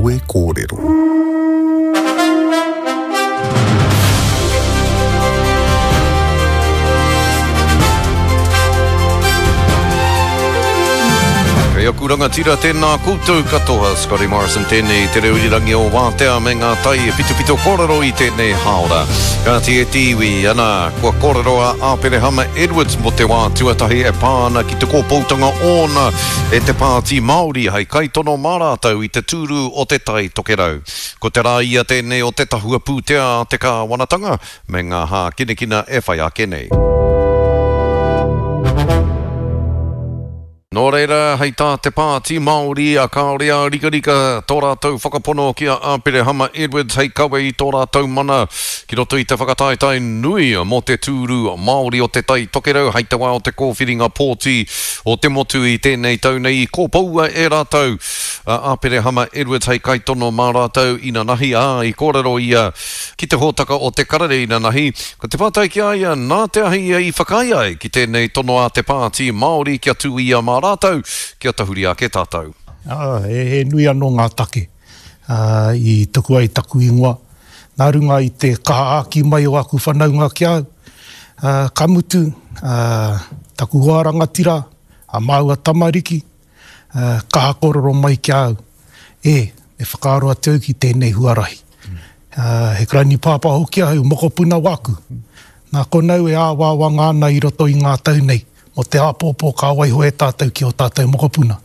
Kawe Kōrero. Kei aku rangatira tēnā koutou katoa, Scotty Morrison tēnei, te reo irirangi o Wātea me ngā tai e pitopito kōrero i tēnei hāora. Kāti e te iwi, ana, kua kōrero a Āperehama Edwards mō te wā tuatahi e pā ana ki te kōpoutanga ōna e te Pāti Māori hei kaitono mā rātou i te tūru o Te Tai Tokerau. Ko te rā ia tēnei o te tahua pūtea a te kāwanatanga me ngā hākinakina e whai ake nei. Nō reira, hei tā te Pāti Māori, kāore a rikarika tō rātou whakapono ki a Āperehama Edwards hei kawe i tō rātou mana ki roto i te whakataetae nui mō te tūru Māori o Te Tai Tokerau hei te wā o te kōwhiringa pōti o te motu i tēnei tau nei i kōpoua e rātou a Āperehama Edwards hei kaitono mā rātou inanahi, ā, i kōrero ia ki te hōtaka o Te Karere inanahi. Ko te pātai ki a ia, nā te aha ia i whakaae ai ki tēnei tono a te Pāti Māori kia tū ia mā rātou, kia tahuri ake tātou? Ā, he nui anō ngā take i tuku ai taku ingoa, nā runga i te kaha āki mai o aku whanaunga ki a au. Ka mutu, taku hoa rangatira, a māua tamariki, kaha kōrero mai ki a au, E, me whakaaro atu au ki tēnei huarahi. He karani pāpā hoki ahau, mokopuna wāku. Nā konau e āwangawanga ana i roto i ngā tau nei, mō te āpōpō ka waiho e tātou ki ō tātou mokopuna.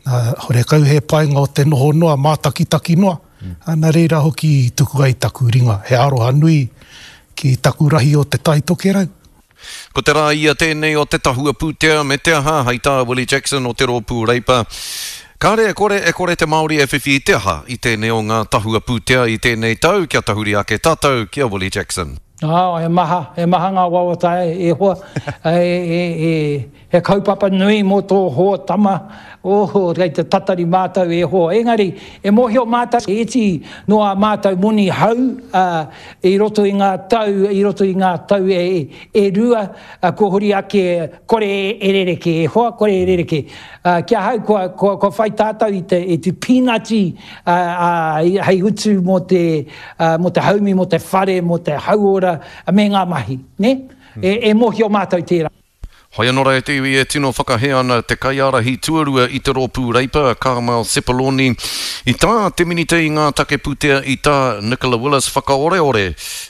Nā, horekau he painga o te noho noa, mātakitaki noa, nā reira hoki i tuku ai taku ringa, he aroha nui ki taku rahi o Te Tai Tokerau. Ko te rā ia tēnei o te tahua pūtea me te aha, hei tā Willie Jackson o te Rōpū Reipa, Kāre e kore, e kore te Māori e whiwhi i te aha i tēnei o ngā tahua pūtea i tēnei tau, kia tahuri ake tātou ki a Willie Jackson. Ā, he maha, he maha ngā wawata e hoa, e, e, e, he kaupapa nui mō tō hoa tama, oh, kei te tatari mātou e hoa. Engari, e mōhio mātou, he iti noa ā mātou moni hau, ā, I roto i ngā tau, i roto i ngā tau e, e rua, kua huri ake, kore e rerekē, e hoa, kore e rerekē. Ki ahau, kua, kua, kua whai tātou i te, i te pīnati, ā, hei utu mō te, mō te haumi, mō te whare, mō te hauora, me ngā mahi, nē? E, e mōhio mātou tērā. Hoi anō rā e te iwi e tino whakahē ana te kaiārahi tuarua i te rōpū Reipa, Carmel Sepuloni, i tā te Minita i ngā take pūtea i tā Nicola Willis whakaoreore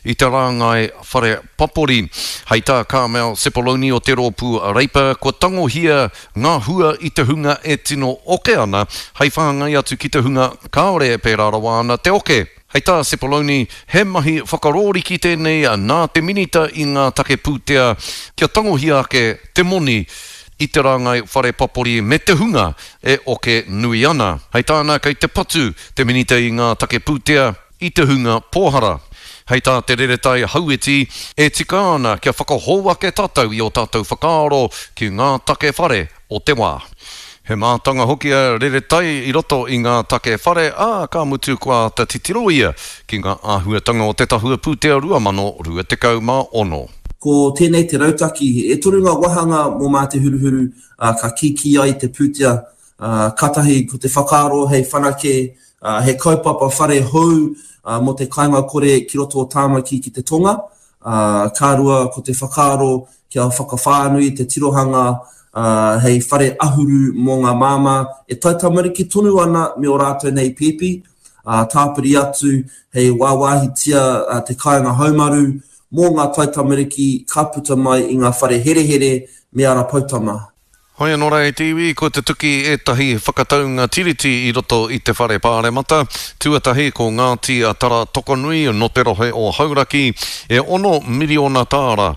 i te rāngai whare papori. Hei tā Carmel Sepuloni o te rōpū Reipa, kua tangohia ngā hua i te hunga e tino oke ana hei whāngai atu ki te hunga kāore e pērā rawa ana te oke. Hei tā Sepuloni, he mahi whakarōriki tēnei nā te Minita i ngā take pūtea kia tangohia ake te moni i te rāngai whare papori me te hunga e oke nui ana. Hei tāna, kei te patu te Minita i ngā take pūtea i te hunga pōhara. Hei tā Te Reretai Hauiti, e tika ana kia whakahou ake tātou i ō tātou whakaaro ki ngā take whare o te wā. He mātanga hoki a Reretai i roto i ngā take whare, ā, ka mutu kua āta titiro ia ki ngā āhuatanga o te Tahua Pūtea 2026. Ko tēnei te rautaki, e toru ngā wāhanga mō Mā Te Huruhuru, ā, ka kīkī ai te pūtea, ā, kātahi ko te whakaaro hei whanake, ā, he kaupapa whare hou, ā, mō te kāinga kore ki roto o Tāmaki ki te tonga, ā, ka rua ko te whakaaro kia whakawhānui te tirohanga hei whare ahuru mō ngā māmā e taitamariki tonu ana me ō rātou nei pēpi, ā, tāpiri atu hei wāwāhitia te kāinga haumaru mō ngā taitamariki ka puta mai i ngā whare herehere me Ara Poutama. Hoi anō rā e te iwi, kua tutuki ētahi whakataunga tiriti i roto i te whare pāremata. Tuatahi, ko Ngāti Tara Tokonui nō te rohe o Hauraki, e ono miriona tāra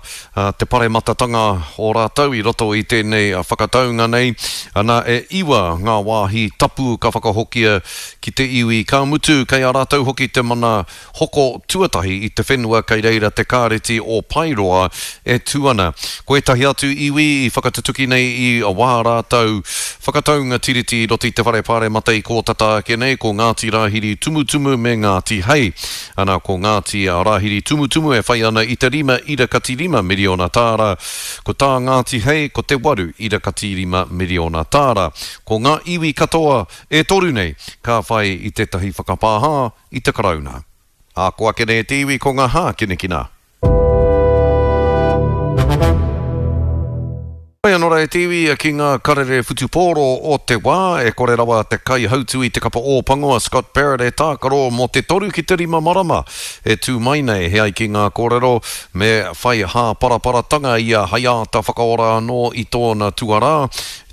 te parematatanga o rātou i roto i tēnei whakataunga nei. Ana, e iwa ngā wāhi tapu ka whakahokia ki te iwi, ka mutu kei a rātou hoki te mana hoko tuatahi i te whenua kei reira te Kāreti o Paeroa e tū ana. Ko ētahi atu iwi i whakatutuki nei i wā rātou whakataunga tiriti i roto i te Whare Pāremata i kō tata ake nei, ko Ngāti Rāhiri Tumutumu me Ngāti Hei. Ana, ko Ngāti Rāhiri Tumutumu e whai ana i te 5.5 miriona tāra, ko tā Ngāti Hei ko te 8.5 miriona tāra. Ko ngā iwi katoa e toru nei ka whai i tētahi whakapāha i te Karauna. Ā, ko ake nei te iwi ko ngā hākinakina. Whai anō rā e te iwi ki ngā karere whutupōro o te wā, e kore rawa te kaihautu i te kapa Ōpango a Scott Barrett e tākaro mō te toru ki te rima marama e tū mai nei. He ai ki ngā kōrero, me whai hāparaparatanga ia hei āta whakaora anō i tōna tuarā.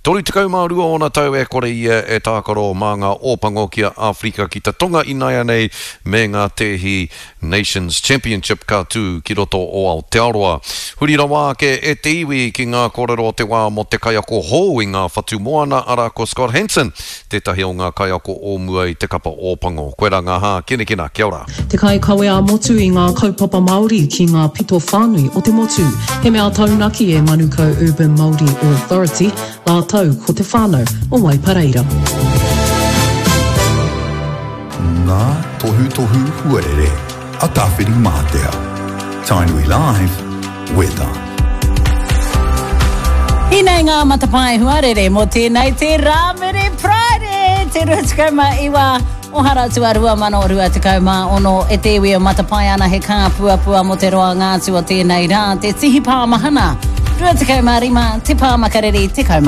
32 ōna tau e kore ia e tākaro mā ngā Ōpango ki a Āwherika ki te Tonga inaianei me ngā tēhi Nations Championship ka tū ki roto o Aotearoa. Huri rawa ake e te iwi ki ngā kōrero o te wā mō te kaiako hou i ngā whatu moana, arā ko Scott Hansen, tētahi o ngā kaiako o mua i te kapa Ōpango. Koirā ngā hākinakina. Kia ora. Te kaikawe ā-motu i ngā kaupapa Māori ki ngā pito whānui o te motu. He mea taunaki e Manukau Urban Māori Authority rātou ko te whānau o Waipareira. Ngā tohutohu huarere a Tāwhirimātea. Tainui Live, Weather. Hinei ngā matapae huarere mō tēnei te Rāmere Friday, te 29 o Haratua 2026 e te iwi e matapae ana he kāpuapua mō te roanga atu o tēnei rā, te tihi pāmahana, 25, te pāmakariri, 10.